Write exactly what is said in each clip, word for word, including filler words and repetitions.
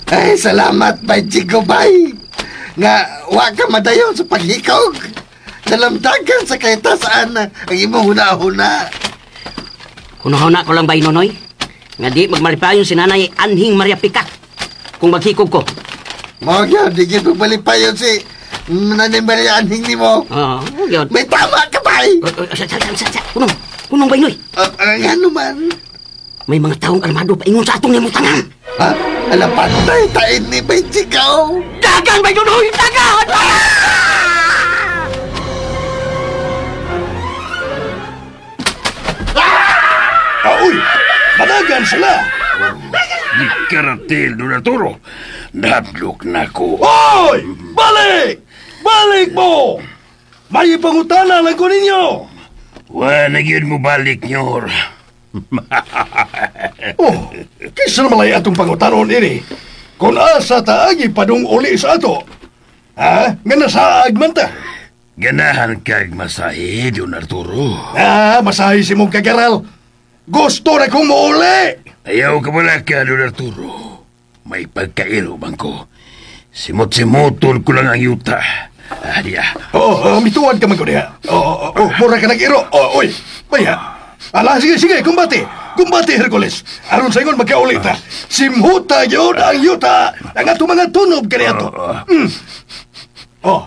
Ay, salamat, Bay Chico, bay. Nga, wa ka madayon sa paghikog. Nalamdagan sa kaitasaan ang imong huna-huna. Hunahuna ko lang bay Nonoy. Nga di magmalipayon si Nanay Anhing Maria Pika kung maghikog ko. Mao gyud, di gyud magbalipayon si Nanay Maria Anhing nimo. Oo, yun. May tama ka, bay. Uh, uh, sa, sa, sa, sa, Kunong, kunong bay Noy. Uh, uh, ngano man? May mga taong armado paingon sa atong nimutangan. Ha? Ala, patay, tain ni Bay Chico. Dagan bay Nonoy! Dagan! Aoy! Managan sila! Di karatil, Don Arturo. Nadlok na ko. Hoy! Balik! Balik mo! May pangutana lang ko ninyo! Wa na gyud mo balik, nyor. Oh, kaysa naman ay atong pangutanon ini. Kung asa taagi padung uli sa ato. Ha? Nga nasaag man ta. Ganahan kag masahe, Don Arturo. Ah, masahi si mong kagaral. Gusto na kong muuli! Ayaw ka wala ka, Don Arturo. May pagkairo bang ko. Simot-simotol ko lang ang yuta. Ah, diya. Oo, oh, mituan ka man ko diha. Oo, oh, oh, mura ka nag-iro. Oh, oy, baya. Ala, sige, sige, kumbate. Kumbate, Hercules. Aron sa ingon, magkauli ta. Simhuta yun ang yuta. Ang ato mga tunob kaniato. Mm. Oh.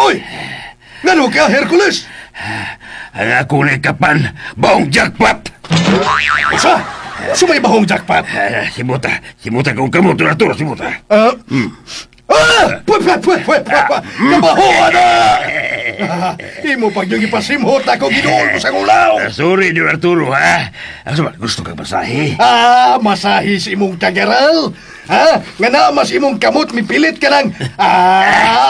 Oy! Ngano ka, Hercules? Ang ako na kapan, baong jackpot! Usa? Sumay bahong jackpot. Ah, simuta, simuta kong kamot, Don Arturo, simuta. Ah! Ah! Pwe, pwe, pwe, pwe, pwe, pwe. Kabahoan na! Ah, Imo pag yung ipasimhot ako, ginuol ko sa gulaw. Ah, sorry, Don Arturo, ha? Asa ba, gusto kang masahe? Ah, masahi si imong kagaral. Ha? Nga na mas imong kamot mipilit ka lang. Ah,